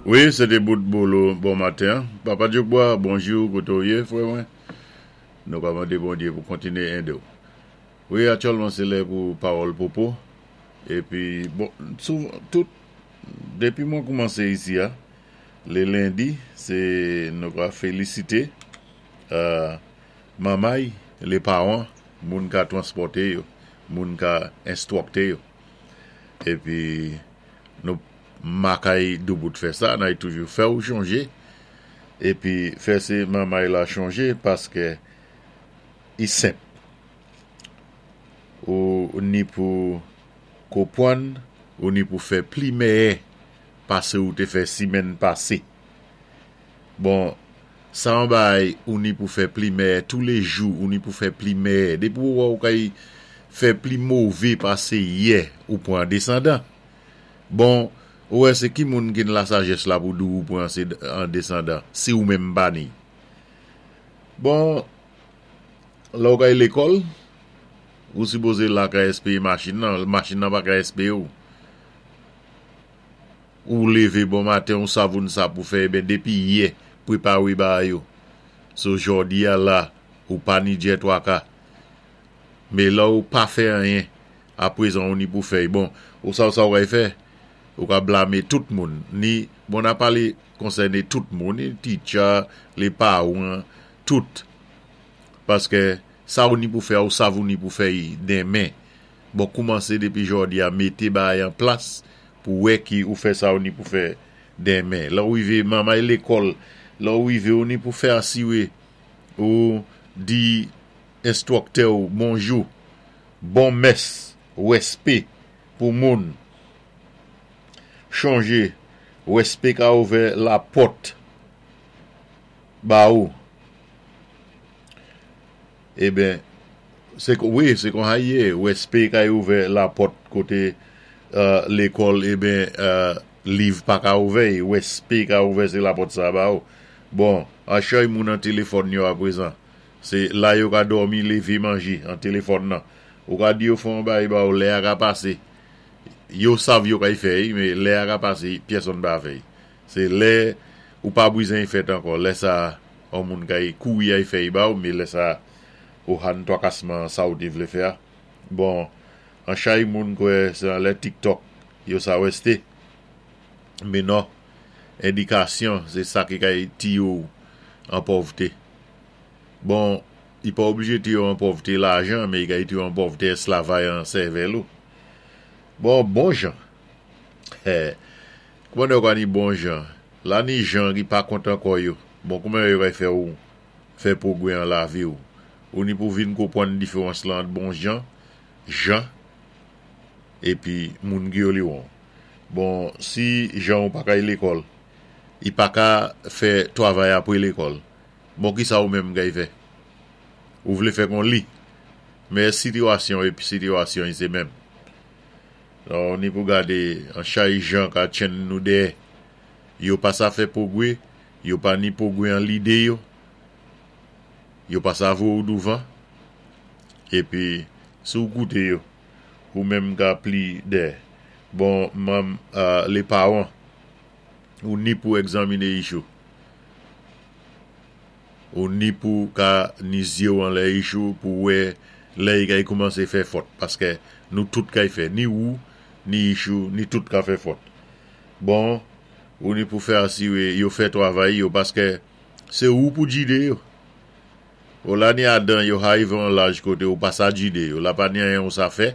Wi, sé té bout Bolo bon maten. Papa Djokbwa, bonjou, koté ou yé, frè mwen? Nou ka mandé Bondyé pou kontiné édé ou. Wi, aktyèlman sé lè pou pawòl popo. Épi, bon, souvan, tout, dépi mwen koumansé isi a, lé lendi, sé nou ka félisité manmay, lé pawan, moun ka transpòté yo, moun ka enstwòkté yo. Épi, nou makay doubout fè sa, nay toujou fè ou chonje, épi fè sé manmay la chonje paskè i senp. Ou ni pou konpwann, ou ni pou fè pli mèyè pase ou té fè simèn pase. Bon, sa an bagay ou ni pou fè pli mèyè toulejou, ou ni pou fè pli mèyè. Dépi ou wè ou kay fè pli mové pase yè, ou pwan an desandan. Bon, ou wè sé ki moun ki n lasajès la pou di ou pwan an desandan, si ou menm pa ni? Bon, Lè ou kay lekòl, ou sipoze la ka espeye machin nan, machin nan pa ka espeye ou. Ou leve bon maten, ou savoun sa pou fè, eben depi yè, prepare bagay yo. So jòdi a la, ou pa ni djè twaka. Me lè ou pa fè anyen, aprezan ou ni pou fè. Bon, ou sav sa ou kay fè? Ou ka blame tout moun. Ni, bon na pale konsène tout moun, ni teacher, le paran, tout. Paskè sa ou ni pou fè a ou sav ou ni pou fè i denmen. Bon koumanse depi jòdi a mete bagay an plas pou wè ki ou fè sa ou ni pou fè denmen. Lè ou rive manmay lekòl, lè ou rive ou ni pou fè asire ou di enstwòktè ou bonjou, bon mès, rèspé pou moun. Chonje rèspé ka ouvè lapòt ba ou. Eben, se kon, wi, se kon sa ye, wèspe kay ouvè lapòt kote lekòl, eben, liv pa ka ouvè, wèspe ka ouvè se lapòt sa ba ou. Bon, an chay moun an telefòn yo aprezan. Se la yo ka dòmi, leve, manje, an telefòn nan. Ou ka di yo fè yon bagay ba ou, lè a ka pase. Yo sav yo kay fè, men lè a ka pase, pyèsonn pa fè. Se lè ou pa bwizen y fèt ankò, lè sa a on moun kay kouri ay fè y ba ou, me lè sa a ou hann twakasman sa ou te vle fè a. Bon, an chay moun kwè se anlè tiktok yo sa wèste. Me nò, endikasyon se sa ki kay tiye w an pòvte. Bon, y pa oblije tiye w an pòvte lajan, me y kay tiye w an pòvte esklavay an sèvèl ou. Bon, bon jan. Hè. Kouman yo ka ni bon jan? La ni jan ki pa kontan kò yo. Bon kouman yo kay fè ou fè pwogwè an lavi ou? Ou ni pou vin konpwann diferans lan ant bon jan, jan, epi moun ki yo li won. Bon si jan ou pa kay lekòl, i pa ka fè twavay apre lekòl. Bon kisa ou menm kay fè? Ou vle fè kon li. Men sitiyasyon epi sitiyasyon i se menm. Nou ni pou gade an chay jan ka tchenn nou dèyè. Yo pa sa fè pwogwe, yo pa ni pwogwe an lide yo. Yo pa sa voye ou douvan. Epi, si ou koute yo, ou menm ka pli dèyè. Bon, manm le paran, ou ni pou egzamine ichou. Ou ni pou ka ni zyew anlè ichou pou wè lè y kay koumanse fè fòt paskè nou tout kay fè ni ou ni ichou ni tout ka fè fòt bon ou ni pou fè asire yo fè twavay yo paskè se ou pou djide yo o la ni adan yo harive on laj kote ou pa sa djide yo la pa ni anyen ou sa fè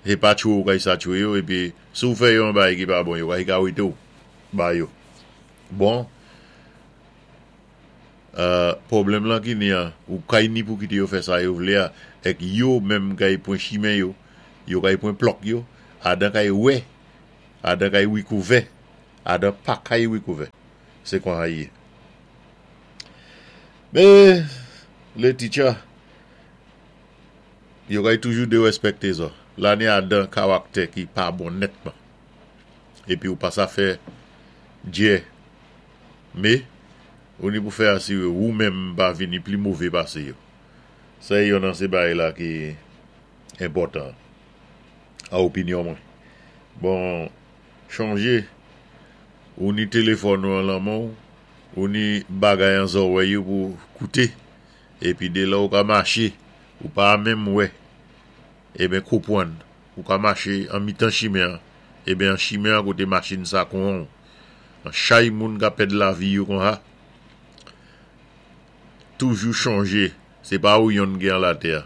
se pa tchwe ou kay sa tchwe yo epi si ou fè yo yon bagay ki pa bon yo kay ka wete ou ba yo bon. Pwoblèm lan ki ni an, ou kay ni pou kite yo fè sa yo vle a, èk yo menm kay pwen chimen yo, yo kay pwen plòk yo, adan kay wè, adan kay wikouvè, adan pa kay wikouvè. Se kon sa ye. Me, le teacher, yo kay toujou derèspèkte zò. La ni adan karaktè ki pa bon nètman. Epi ou pa sa fè djè. Me, ou ni pou fè asire ou menm pa vini pli move pase yo. Sa e yonn nan se bagay la ki enpòtan a opinyon mwen. Bon, chonje, Ou ni téléfòn ou an lan men-w, ou ni bagay an zòwèy ou pou kouté, épi dé lè ou ka maché, ou pa menm wè, eben konpwann, ou ka maché an mitan chimen an, eben an chimen an koté machin sa konwan-w. An chay moun ka pèd lavi yo konsa. Toujou chonjé, sé pa ou yonn ki an latè,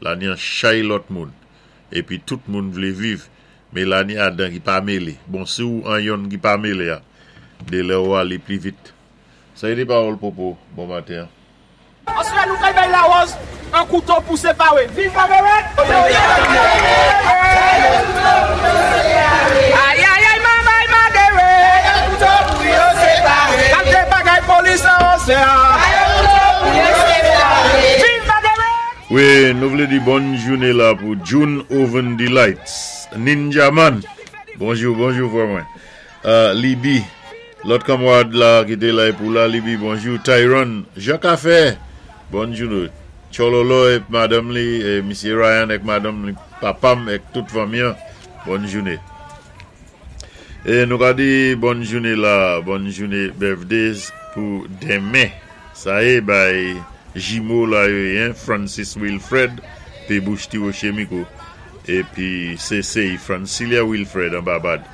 la ni an chay lòt moun, épi tout moun vlé viv, Melanie Adan ki pa mele. Bon si w an yonn ki pa mele a, delè ou ale pli vit. Sa e de pawòl popo bon maten an. Oswa nou kay bay lawòz an kouto pou separe. Viv Margaret! Ayayay mamay Margaret! Kalte bagay polis lawòz fè a. Viv Margaret! Wi nou vle di bòn joune la pou June Oven Delights Ninja man bonjou bonjou frè mwen Libi lòt kanmwad la ki te la epou la Libi bonjou Tyron Jean Café bòn joune Tchololo et madanm li e misye Ryan ek madanm li papam ek tout fanmi an bòn joune E nou ka di bòn joune la bòn joune birthdays pou demen. Sa e bay jimo la yo ye hein Francis Wilfred pe bouch ti roche miko epi se sey Francilia Wilfred an Babad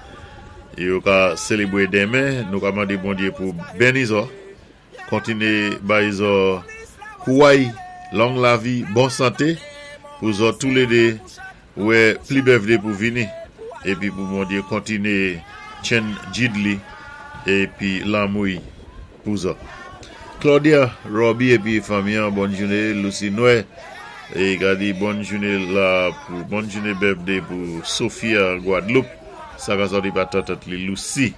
yo ka selebre demen nou ka mande Bondye pou beni zò kontine bay zò kouway long lavi bon sante pou zò toulede Wè pli bèvde pou vini epi pou Bondye kontine tchenn Jidly epi lanmou y pou zò. Claudia, Roby epi fanmi an bòn joune Lucie Nwè e gade bòn joune la pou bòn joune bèvde pou Sophia Guadeloupe sa ka sòti pa tantant li Lucie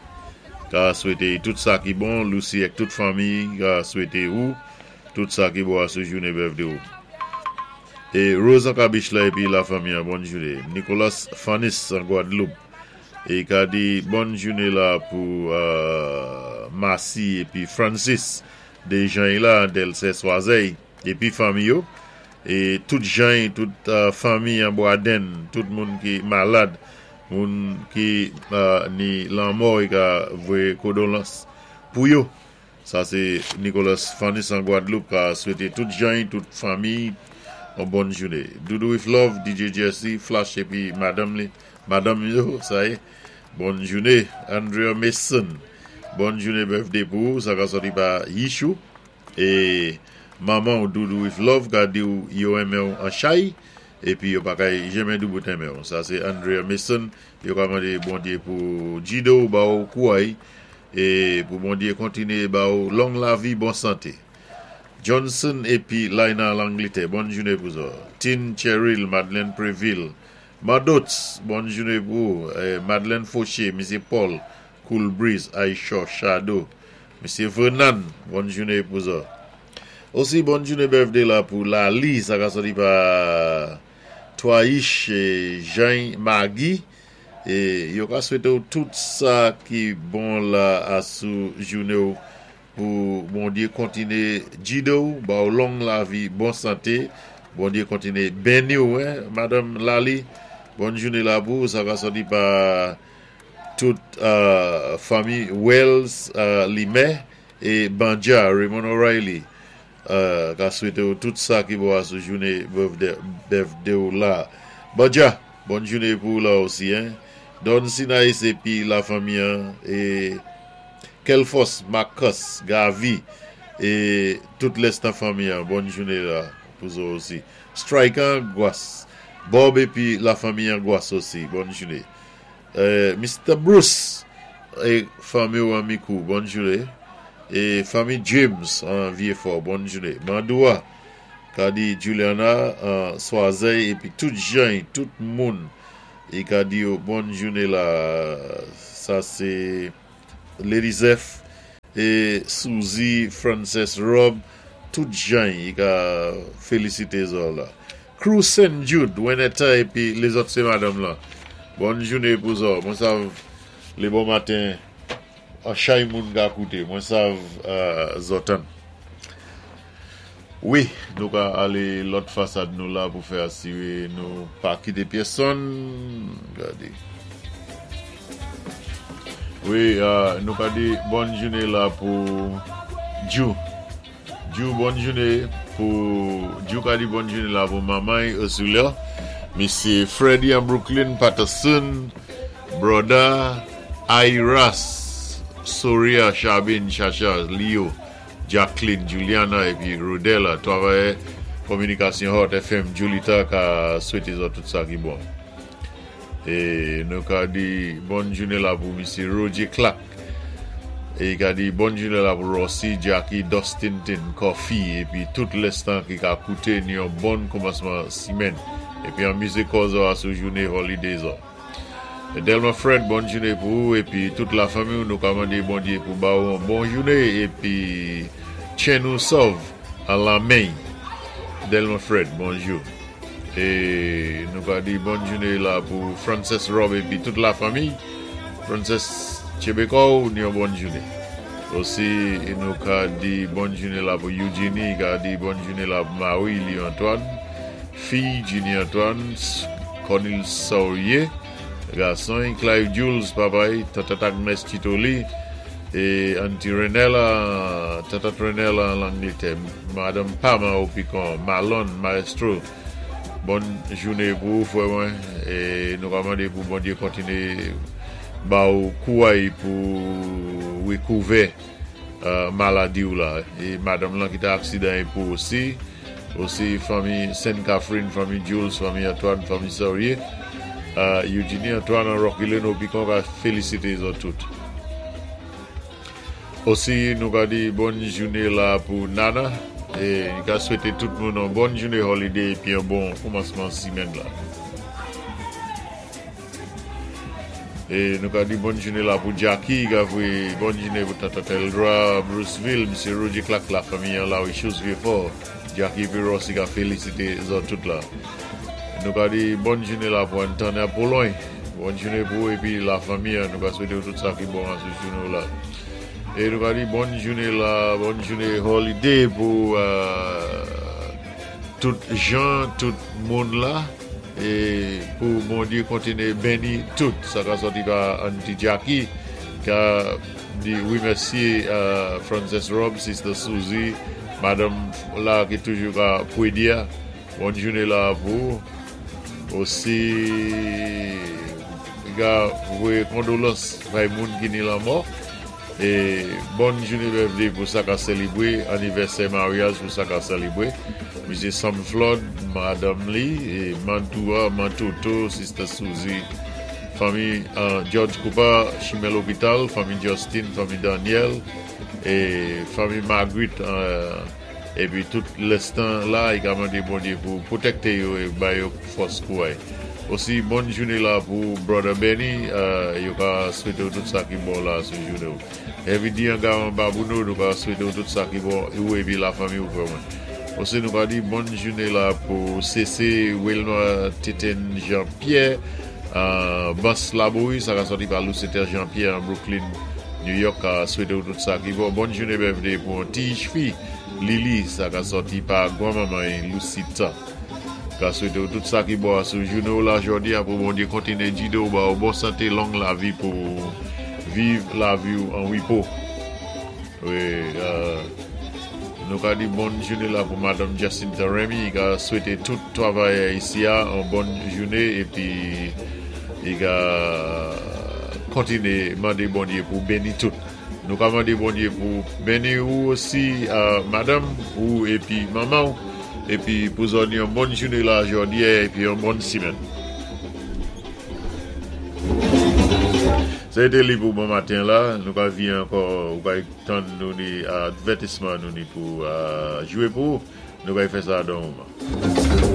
ka swete y tout sa ki bon Lucie ak tout fanmi ka swete ou tout sa ki bon asou joune bèvde ou. E Rose an kabich la epi la fanmi an bòn joune Nicolas Fanis an Guadeloupe e ka di bòn joune la pou Massy epi Francis de jany la Delsè Swazèy epi fanmi yo e tout jany tout fanmi an Bwadenn tout moun ki malad moun ki ni lanmò e ka voye kodolans pou yo. Sa se Nicolas Fanis an Guadeloupe ka swete tout jany tout fanmiy on bòn joune. Doudou with love DJ Jesse flash epi madanm li madanm yo sa ye bòn joune Andrea Mason bòn joune birthday pou ou sa ka sòti pa Yichou e manmanw Doudou with love ka diw yo renmenw an chay epi yo pa kay jenmen doubout renmenw sa se Andrea Mason yo ka mande Bondye pou jidow baw kouray E pou Bondye kontinye ba ou long lavi bon sante. Johnson epi Laina Langlitè bòn joune pou zò. Tin Cheryl Madeleine Previl Mardots bòn joune pou ou Madeleine Fauché Misye Paul Cool Breeze Ayshaw Shadow Misye Vernan bòn joune pou zò. Osi bòn joune birthday la pou Lalie sa ka soti pa Twaish Jany Maggie E yo ka swete w tout sa ki bon la a sou joune w pou Bondye kontine gide w ba w long lavi bon sante Bondye kontine beni w hein madame Lalie bonne joune la pou w sa ka sòti pa tout fanmi Wells Limè e Bandja Raymond O'Reilly Ka swete w tout sa ki bon a sou joune birthday w la. Bandja, bòn joune pou w la osi hein. Don Sinais epi la fanmi an e Kelfos, Marcus, Gavi e tout lès nan fanmi an bòn joune la pou zo osi. Strike an Gwas, Bob epi la fanmi an Gwas osi bòn joune. Mister Bruce e fanmi w an Mikou bòn joune e fanmi James an Vyefò bòn joune Mandoua ka di Juliana an Swazèy epi tout jany tout moun e ka di yo bòn joune la sa se Lady Zeph e Suzy Frances Rob tout jany e ka felisite zò la. Crew Saint Jude Wenetta epi lezòt se madanm lan bòn joune pou zò mwen sav le bon maten an chay moun ka koute mwen sav zò tann wi nou ka ale lòt fasad nou la pou fè asire nou pa kite pyèsonn gade. Wi, nou ka di bòn jouné la pou Djou. Djou bòn jouné pou Djou ka di bòn jouné la pou manman Ursula, Misye Freddy an Brooklyn, Patterson, Brother Iras, Soria, Chabin, Chacha, Leo, Jacqueline, Juliana épi Rodella, twavayè kominikasyon Hot FM, Julita ka swété zòt tout sa ki bon. É nou ka di bòn jouné la pou Misye Roger Clark. É ka di bòn jouné la pou Rossi, Jackie, Dustin, Tin, Coffee épi tout lèstan ki ka kouté ni yon bon koumansman simèn. Épi anmizé kò zò a sou jouné holiday zò. Delma Fred bòn jouné pou ou épi tout la fanmi ou, nou ka mandé Bondyé pou ba ou yon bon jouné épi tchen ou sòv an lanmèy. Delma Fred bonjou. É nou ka di bòn jouné la pou Frances Rob épi tout la fanmi. Frances tchenbé kò ou, ni yon bòn jouné. Osi nou ka di bòn jouné la pou Eugenie, ka di bòn jouné la pou Marie Lee Antoine, fi Ginny Antoine, Cornil Saurier, gason, Clive Jules, papa, Tata Agnes Titoli, é Auntie Renella, Tata Renella an Langlétè, Madanm Pam an Opicon, Malon, Maestro, bòn jouné pou ou frè mwen, é nou ka mandé pou Bondyé kontiné ba ou kouway pou rékouvè maladi ou la, é madanm lan ki té aksidan é pou osi, osi fanmi Sainte Catherine, fanmi Jules, fanmi Antoine, fanmi Saurier, Eugenie Antoine an Rocky Lane Opicon ka félisité zòt tout. Osi nou ka di bòn jouné la pou Nana é li ka swété tout moun yon bòn jouné holiday épi yon bon koumansman simèn la. É nou ka di bòn jouné la pou Jackie ka voyé bòn jouné pou Tata Teldra Bruceville, Misye Roger Clark la fanmi an la wi Chous Vieux-Fort, Jackie épi Rossi ka félisité zòt tout la. Nou ka di bòn jouné la pou Antonia Pologne. Bòn jouné pou ou épi la fanmi an, nou ka swété ou tout sa ki bon an sou jouné ou la. É nou ka di bòn jouné la, bòn jouné holiday pou tout jan, tout moun la, é pou Bondyé kontiné benni tout. Sa ka sòti pa Auntie Jackie ka di wi mèsi Frances Rob, Sister Suzy, madanm la ki toujou ka pwédi a. Bòn jouné la pou ou. Osi ga voyé kondolans bay moun ki ni lanmò é bòn jouné birthday pou sa ka sélébwé anivèsè maryaj pou sa ka sélébwé Misye Sam Flood madanm li é Mantoua Mantoto Sister Suzy fanmi George Cooper chimè lopital fanmi Justin fanmi Daniel é fanmi Marguerite. Epi tout lèstan la i ka mande Bondye pou pwotèkte yo e ba yo fòs kouray. Osi bòn joune la pou brother Benny yo ka swete w tout sa ki bon la sou joune w. Heavy D an Garan Babouno nou ka swete w tout sa ki bon ou epi la fanmi w frè mwen. Osi nou ka di bòn joune la pou CC Wilma Teten Jean Pierre Bans Labouri sa ka sòti pa Lucether Jean Pierre an Brooklyn New York ka swete w tout sa ki bon. Bòn joune birthday pou yon ti fi Lili sa ka sòti pa gwan manman y Lucita. Ka swete w tout sa ki bon sou joune w la jodi a pou Bondye kontinye gide w ba w bon sante long lavi pou w viv lavi w an repo. Wi nou ka di bòn joune la pou madanm Jacinta Remy ka swete tout travayè isi a yon bòn joune epi li ka kontinye mande Bondye pou beni tout. Nou ka mande Bondye pou beni ou osi madanm ou epi manman ou epi pou zòn yon bòn joune la jodi a epi yon bòn simèn. Se te li pou bon maten la, nou ka vi ankò ou ka tann nou ni advètisman nou ni pou jwe pou ou, nou ka fè sa dan moman.